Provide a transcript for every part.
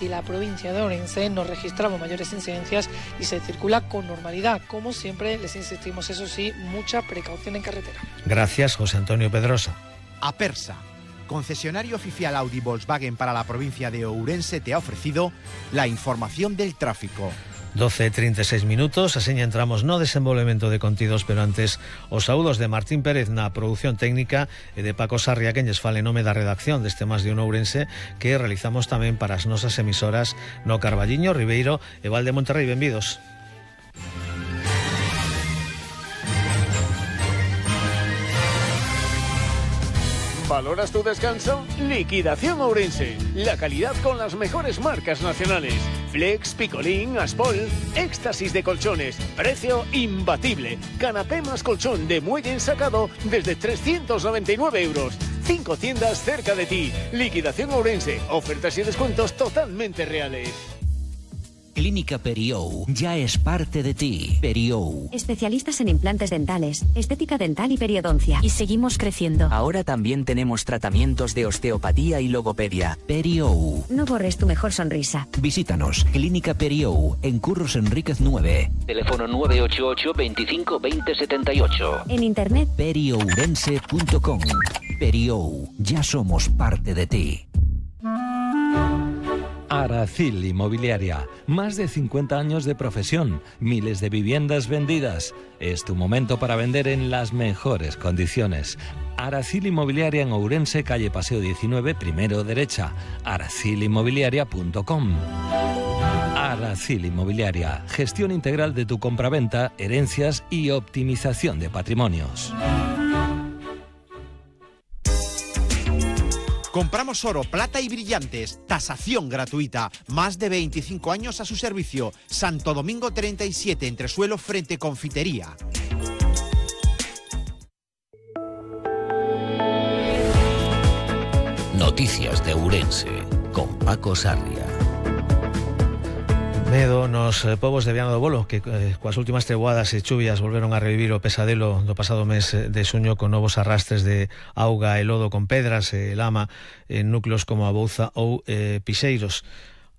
y la provincia de Ourense no registramos mayores incidencias y se circula con normalidad. Como siempre, les insistimos, eso sí, mucha precaución en carretera. Gracias, José Antonio Pedrosa. Apersa, concesionario oficial Audi Volkswagen para la provincia de Ourense, te ha ofrecido la información del tráfico. 12:36 minutos, así entramos no desenvolvemento de contidos, pero antes os saúdos de Martín Pérez na produción técnica e de Paco Sarria, que lles fale nome da redacción deste Más de un Ourense, que realizamos tamén para as nosas emisoras no Carballiño, Ribeiro e Val de Monterrey. Benvidos. ¿Valoras tu descanso? Liquidación Ourense. La calidad con las mejores marcas nacionales. Flex, Picolín, Aspol, éxtasis de colchones. Precio imbatible. Canapé más colchón de muelle ensacado desde 399 euros. 5 tiendas cerca de ti. Liquidación Ourense. Ofertas y descuentos totalmente reales. Clínica Periou ya es parte de ti. Periou. Especialistas en implantes dentales, estética dental y periodoncia. Y seguimos creciendo. Ahora también tenemos tratamientos de osteopatía y logopedia. Periou. No borres tu mejor sonrisa. Visítanos. Clínica Periou, en Curros Enríquez 9. Teléfono 988 25 20 78. En internet periourense.com. Periou. Ya somos parte de ti. Aracil Inmobiliaria, más de 50 años de profesión, miles de viviendas vendidas. Es tu momento para vender en las mejores condiciones. Aracil Inmobiliaria en Ourense, calle Paseo 19, primero derecha. aracilinmobiliaria.com. Aracil Inmobiliaria, gestión integral de tu compraventa, herencias y optimización de patrimonios. Compramos oro, plata y brillantes, tasación gratuita, más de 25 años a su servicio. Santo Domingo 37, entresuelo frente Confitería. Noticias de Ourense, con Paco Sarria. Medo nos povos de Viana do Bolo, que coas últimas treguadas e chuvias volveron a revivir o pesadelo do pasado mes de xuño, con novos arrastres de auga e lodo con pedras e lama en núcleos como a Bouza ou Pixeiros.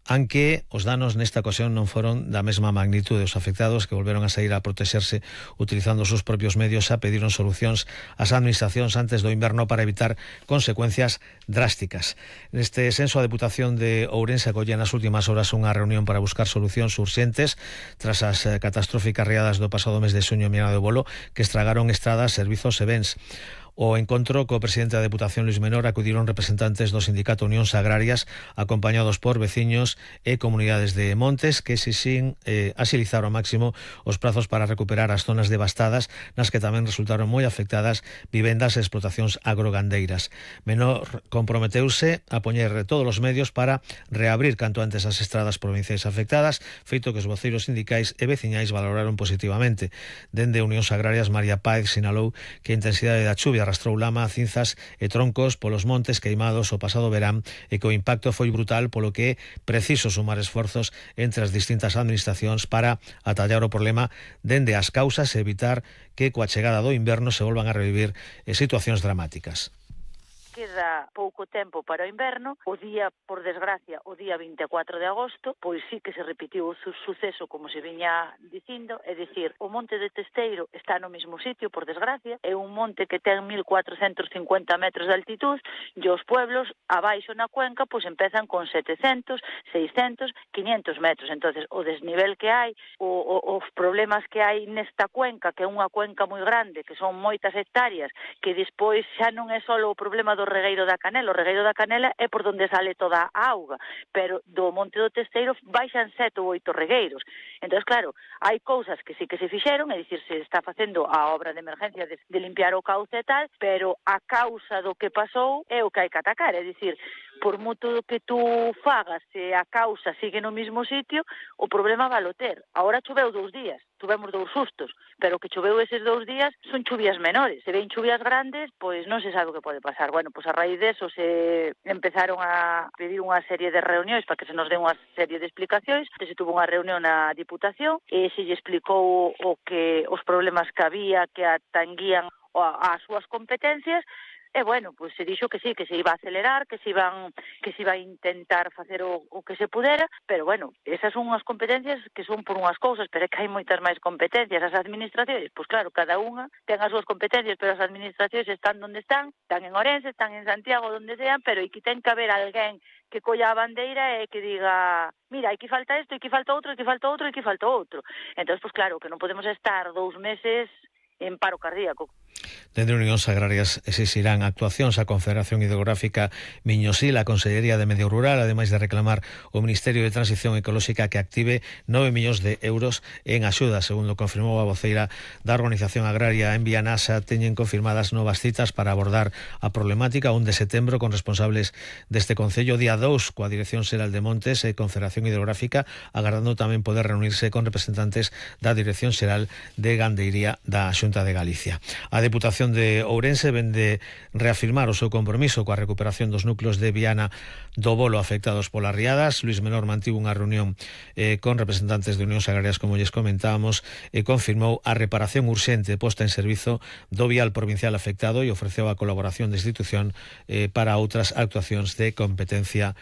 Aunque os danos nesta ocasión non foron da mesma magnitude. Os afectados, que volveron a sair a protexerse utilizando os seus propios medios, xa pediron solucións ás administracións antes do inverno para evitar consecuencias drásticas. Neste senso, a Deputación de Ourense acolle nas últimas horas unha reunión para buscar solucións urxentes tras as catastróficas riadas do pasado mes de xuño en Viana do Bolo, que estragaron estradas, servizos e bens. O encontro co presidente da Deputación, Luis Menor, acudiron representantes do Sindicato Unións Agrarias, acompañados por veciños e comunidades de montes, que exixín axilizar ao máximo os prazos para recuperar as zonas devastadas, nas que tamén resultaron moi afectadas vivendas e explotacións agrogandeiras. Menor comprometeuse a poñer todos os medios para reabrir canto antes as estradas provinciais afectadas, feito que os voceiros sindicais e veciñais valoraron positivamente. Dende Unións Agrarias, María Páez sinalou que a intensidade da chuvia arrastrou lama, cinzas e troncos polos montes queimados o pasado verán e que o impacto foi brutal, polo que é preciso sumar esforzos entre as distintas administracións para atallar o problema dende as causas e evitar que coa chegada do inverno se volvan a revivir situacións dramáticas. Queda pouco tempo para o inverno. O día, por desgracia, o día 24 de agosto, pois sí que se repetiu o suceso como se viña dicindo, é dicir, o monte de Testeiro está no mesmo sitio, por desgracia, é un monte que ten 1450 metros de altitud e os pueblos abaixo na cuenca pois empezan con 700, 600, 500 metros. Entonces, o desnivel que hai, os problemas que hai nesta cuenca, que é unha cuenca moi grande, que son moitas hectáreas, que despois xa non é só o problema do regueiro da Canela. O regueiro da Canela é por onde sale toda a auga, pero do monte do Testeiro baixan 7 ou 8 regueiros. Entón, claro, hai cousas que sí que se fixeron, é dicir, se está facendo a obra de emergencia de limpiar o cauce e tal, pero a causa do que pasou é o que hai que atacar, é dicir, por moito que tú fagas, se a causa sigue no mesmo sitio, o problema va a ter. Agora choveu 2 días, tuvemos 2 sustos, pero que choveu eses 2 días son chuvias menores. Se ven chuvias grandes, pois non se sabe o que pode pasar. Bueno, pois a raíz deso se empezaron a pedir unha serie de reunións para que se nos dé unha serie de explicacións. Se tuvo unha reunión na Diputación e se lle explicou os problemas que había, que atanguían as súas competencias. E, bueno, pois se dixo que sí, que se iba a acelerar, que se iba a intentar facer o que se pudera, pero, bueno, esas son unhas competencias que son por unhas cousas, pero é que hai moitas máis competencias. As administracións, pois claro, cada unha ten as súas competencias, pero as administracións están onde están en Ourense, están en Santiago, onde sean, pero aquí ten que haber alguén que colla a bandeira e que diga, mira, aquí falta isto, aquí falta outro, aquí falta outro, aquí falta outro. Entón, pois claro, que non podemos estar 2 meses en paro cardíaco. Dende Unións Agrarias exixirán actuacións a Confederación Hidrográfica Miñosil, a Consellería de Medio Rural, ademais de reclamar o Ministerio de Transición Ecolóxica que active 9 millóns de euros en axuda. Segundo confirmou a voceira da Organización Agraria en Vianasa, teñen confirmadas novas citas para abordar a problemática 1 de setembro con responsables deste Concello, día 2 coa Dirección Xeral de Montes e Confederación Hidrográfica, agardando tamén poder reunirse con representantes da Dirección Xeral de Gandeiría da Xunta de Galicia. A Deputación de Ourense vende reafirmar o seu compromiso coa recuperación dos núcleos de Viana do Bolo afectados polas riadas. Luís Menor mantivo unha reunión con representantes de Unións Agrarias, como lles comentábamos, e confirmou a reparación urxente posta en servizo do vial provincial afectado e ofreceu a colaboración da institución para outras actuacións de competencia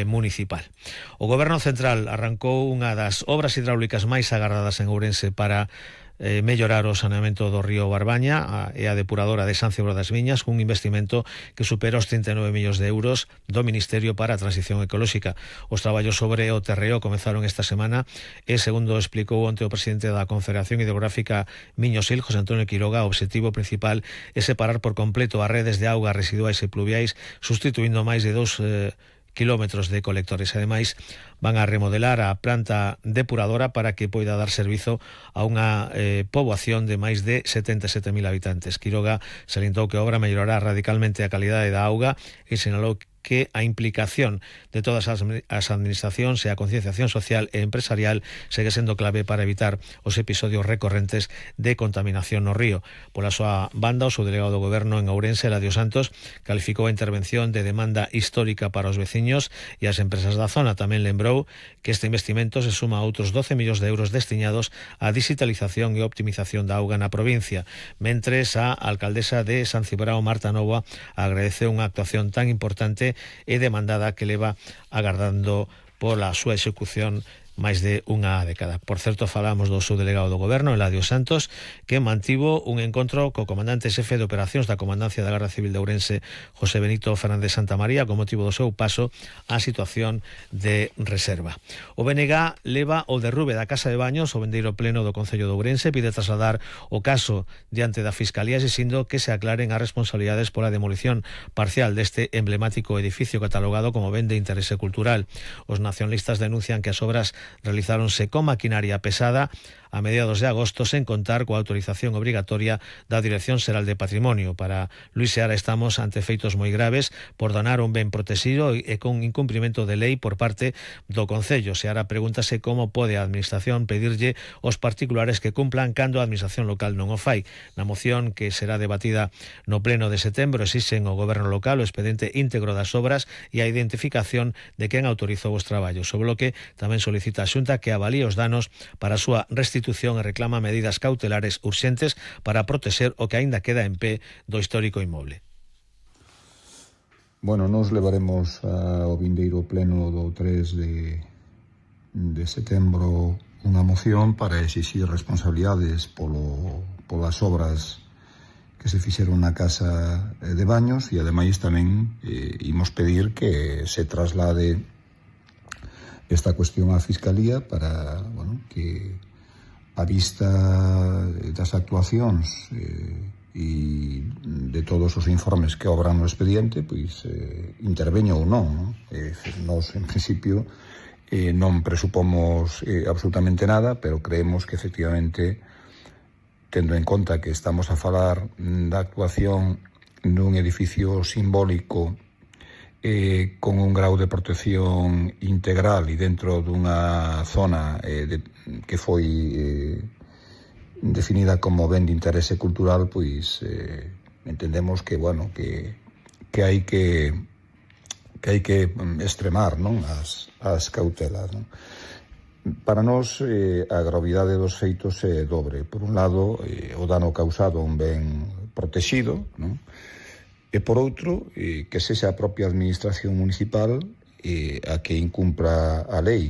municipal. O Goberno Central arrancou unha das obras hidráulicas máis agardadas en Ourense para mellorar o saneamento do río Barbaña e a depuradora de San Cibró das Viñas, cun investimento que supera os 39 millóns de euros do Ministerio para a Transición Ecolóxica. Os traballos sobre o terreo comezaron esta semana e, segundo explicou onte o presidente da Confederación Hidrográfica Miñosil, José Antonio Quiroga, o obxectivo principal é separar por completo as redes de augas residuais e pluviais, sustituindo máis de 2 kilómetros de colectores. Ademais, van a remodelar a planta depuradora para que poida dar servizo a unha poboación de máis de 77.000 habitantes. Quiroga salientou que a obra mellorará radicalmente a calidade da auga e sinalou que a implicación de todas as administracións e a concienciación social e empresarial segue sendo clave para evitar os episodios recorrentes de contaminación no río. Pola súa banda, o subdelegado do Goberno en Ourense, Eladio Santos, calificou a intervención de demanda histórica para os veciños e as empresas da zona. Tamén lembrou que este investimento se suma a outros 12 millóns de euros destinados á digitalización e optimización da auga na provincia. Mentres, a alcaldesa de San Cibrao, Marta Novoa, agradeceu unha actuación tan importante e demandada que leva agardando pola súa execución máis de unha década. Por certo, falamos do subdelegado do Goberno, Eladio Santos, que mantivo un encontro co comandante xefe de operacións da Comandancia da Garda Civil de Ourense, José Benito Fernández Santamaría, con motivo do seu paso á situación de reserva. O BNG leva o derrube da Casa de Baños, o vendeiro pleno do Concello de Ourense, pide trasladar o caso diante da Fiscalía, exixindo que se aclaren as responsabilidades pola demolición parcial deste emblemático edificio catalogado como ben de interese cultural. Os nacionalistas denuncian que as obras realizáronse con maquinaria pesada a mediados de agosto, sen contar coa autorización obrigatoria da Dirección Xeral de Patrimonio. Para Luís Seara, estamos ante feitos moi graves por donar un ben protegido e con incumprimento de lei por parte do Concello. Seara pregúntase como pode a Administración pedirlle aos particulares que cumplan cando a Administración local non o fai. Na moción que será debatida no pleno de setembro, exixen ao Goberno local o expediente íntegro das obras e a identificación de quen autorizou os traballos. O Bloque tamén solicita a Xunta que avalíe os danos para a súa restitución e reclama medidas cautelares urxentes para protexer o que aínda queda en pé do histórico inmoble. Bueno, nos levaremos ao vindeiro pleno do 3 de setembro unha moción para exixir responsabilidades polas obras que se fixeron na Casa de Baños e ademais tamén imos pedir que se traslade esta cuestión á Fiscalía para, bueno, que a vista das actuacións e de todos os informes que obran no expediente, pois interveño ou non. Nós, en principio, non presupomos absolutamente nada, pero creemos que, efectivamente, tendo en conta que estamos a falar da actuación nun edificio simbólico con un grau de protección integral e dentro dunha zona que foi definida como ben de interese cultural, pois entendemos que, bueno, que hai que extremar, non, as cautelas, non? Para nós, a gravidade dos feitos é dobre. Por un lado, o dano causado a un ben protexido, non? E por outro, que sexa a propia administración municipal a que incumpra a lei.